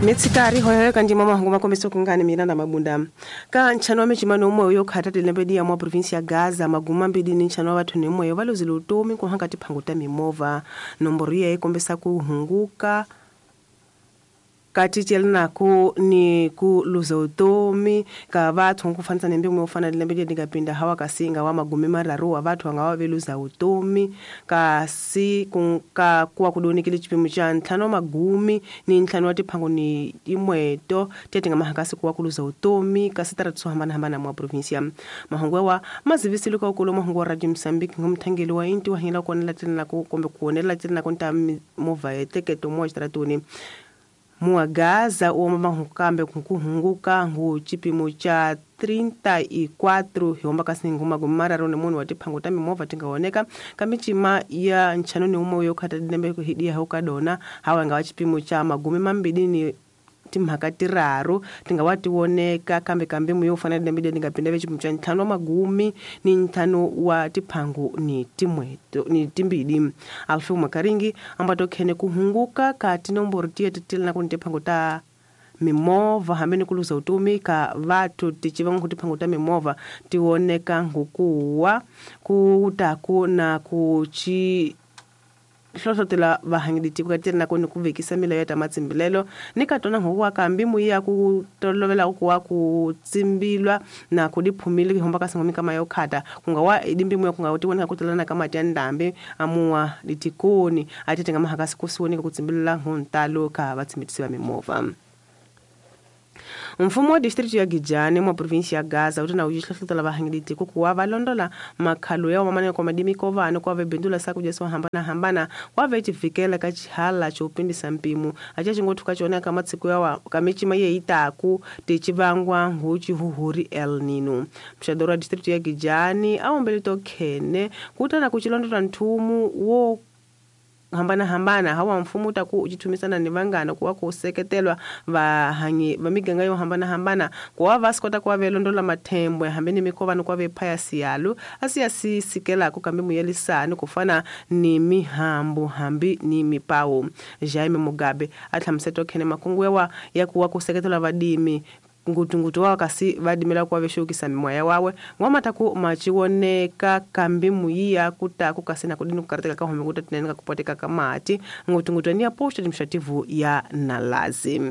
Mitsikari hoyoyo kanjima mahungu makombeso kungani mina na mabunda ka nchano wa michimano umwe yo khata tilembe ya mwa province ya Gaza maguma mbili ni nchano wa vathu ni umwe valozile utomi kuhanga tiphango ta mimovha nomboro ya ikombesa kuhunguka kati tyelinako ni ku luza utomi ka vathu nkufanisa ni mbimu ufana lembe ndingapinda hawa kasinga wa magumi mararu wa vathu anga waveluza utomi kasi ka kuwa kudonikile chipimo cha ntlhanu magumi ni ntlhanu wa tiphango ni imweto tete nga mahakasi kuwa kuluza utomi kasi taratu swo hambanahambana mwa provinsia mahungu wa mazivisile ka ukulu mahungu wa Radio Mozambique ngumthangeli wa inti wa hila kuonela telinako kumbe kuonela telinako nta movha yeteketo mwa xitaratuni Muagaza o mahukambe kuhunguka ngu chipimo cha 34 hiomba kasi nguma gumara rone munhu wa tiphango ta mimovha tingaoneka kamichima ya nchano ni umwe yo khata dilembe kuhidia hukadona hawa nga wa chipimo cha magumi mambili ni timhaka tiraru tingawa tioneka kambe kambe muyo ufana dilembe ndingapinda vechipimo cha ntlhanu wa magumi ni ntlhanu wa tiphango ni timweto ni timbili Alfeu Makaringi ambato khene kuhunguka ka tinomboro tiye titilana kuni tiphango ta mimovha hambi ni kuluza utomi ka vathu tichiva tiphango ta mimovha tioneka ngukuwa kutaku na kuchi hlohlotela vahangiliti kukatiri nako ni kuvekisa milayo ya ta matsimbilelo ni katona huwa kambi muya ku tolovela kuwa kutsimbilwa na kudiphumile kihomba kasingomi kama yo khata kungawa idimbi muya kunga utiwoneka kutelana kama tya ndambi amuwa litikoni atete nga mahakasi kusiwoneka kutsimbilela huntalo ka vatsimbitisi va mimovha. Mfumo wa district ya Gijani mwa provinsi ya Gaza utana ujihlohlotela vahangiliti kukuwa valondola makhalo ya wamane kwa madimi kovano kwa vebindula sakuja swa hambana hambana kwa vechivikela ka chihala chopindisa mpimo acha chingothu kachona kama tsiku yawa kamichima ye itaku tichivangwa nguchi huhuri El Nino. Mshadoro wa district ya Gijani aombele tokhene kutana kuchilondola nthumu wo hambana hambana hawa mfumo utaku uchitumisana ni vangana kuwa kuseketelwa vahanyi vamiganga yo hambana hambana kuwa vasikota kuwa velondola mathembwe hambeni mikovano kuwa vephaya siyalu asiya sisikela kambi muyelisani kufana ni mihambu hambi ni mipawo. Jaime Mugabe atlhamuseto khene makungu yawa ya kuwa kuseketelwa vadimi ngutungutu wa kasi vadimela kuwa veshukisa mimoya wawe ngwamataku machiwoneka kambi muyiya kutaku kasi na kudini kukarateka kahome kutatineneka kupoteka kamati ngutungutu ni aposta administrativu ya Nalazi.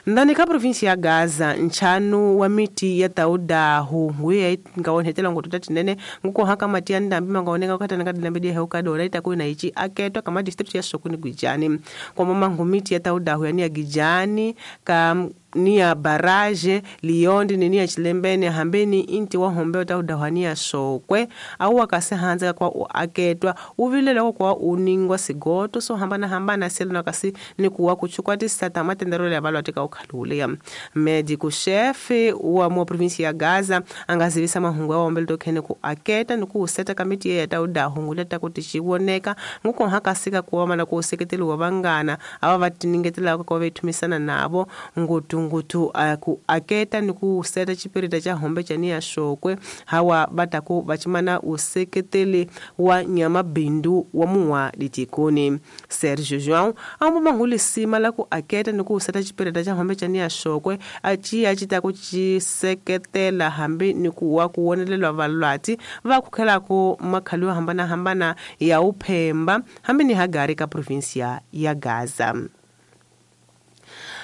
Ndani ka provinsi ya Gaza nchanu wa miti ya taudahu nguye ngaonhetela ngotuta tinene nguko haka mati ya ndambi mangaoneka ukatana kadilambe dia heuka itakuwa na ichi aketwa kama district ya Sokoni Gwijani kwa mama ngumiti ya taudahu yani ya Gijani ka ni ya baraje liondi ni ya chilembene hambeni inti wa hombe taudahu sokwe au wakase hanza kwa aketwa uvilela kwa uningwa sigoto so hambana hambana selo kasi ni kuwa kuchukua tisata matendero ya balwa tika ukhalulia medical chef wa mo province ya Gaza angazivisa mahungu ya ombele tokhene ku aketa ni ku seta kamiti ya taudahu nguleta kuti chiwoneka nguko hakasika kuwa na ku seketeliwa vangana ava vatiningetela kwa vethumisana navo ngutu ngutu ku aketa ni ku seta chipirita cha hombe cha niya shokwe hawa bataku bachimana useketeli wa nyama bindu wa muwa litikoni Sergio João ambo manguli sima la ku aketa ni ku seta chipirita cha hombe cha niya shokwe achi achita ku chiseketela hambi ni kuwa kuwonelelwa valwati va kukhela ku makhalo yo hambana hambana ya uphemba hambi ni hagari ka provinsia ya Gaza.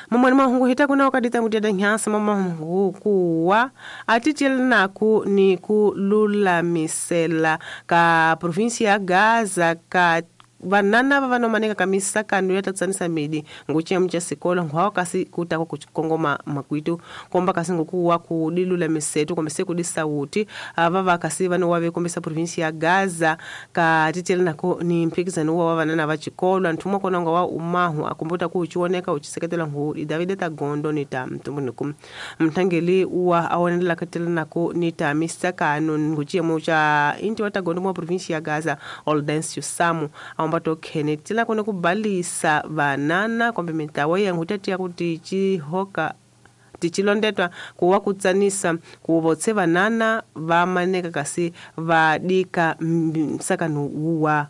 Mamani mahungu hita kuna wakadita muteda nyasa mama kuwa atitielnaku ni kululamisela ka provinsia ya Gaza ka vanana vavanomaneka kamisa kanu ya tatsanisa midi nguchiya mcha sikolo ngwawa kasi kutako kuchikongoma makwitu komba kasi ngukuwa kudilula misetu kombese kudisauti vava kasi vano wave kombesa provinsi ya Gaza ka titele nako ni mpikizano wa vanana va chikolo nthumwa kona ngwa umahu akumbuta kuchioneka uchiseketela ngu Davide Tagondo ni ta mtumbuniku mthangeli wa awonela katele nako ni ta misakano nguchiya mucha inti wa Tagondo mwa provinsi ya Gaza Oldencio Samu ambato Kenneth tila kone kubalisa vanana kombe mitawa yangu tatiya kuti chihoka tichilondetwa kuwa kutsanisa kuvotse vanana vamaneka kasi vadika msakano wa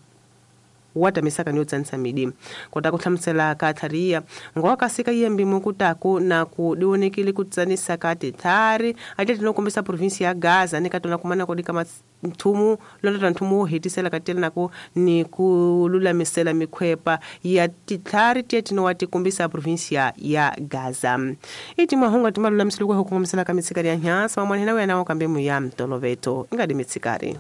wa tamisaka ni yo tsanisa midi. Kota ku hlamusela ka tlhariya ngowa kasika yembi mukutaku na ku diwonekile ku tsanisa ka titlhari a tlhela no kombisa provinsi ya Gaza ni ka tona kumana ku dika nthumu londota nthumu wo hetisela ka tela naku ni ku lulamisela mikhwepa ya titlhari tieti no wa tikombisa provinsia ya Gaza. I timahungu ti malulamisile ku kongomisela ka mitshikari ya nyasa mamwana hina wena kambe muya mtoloveto inga di mitshikari.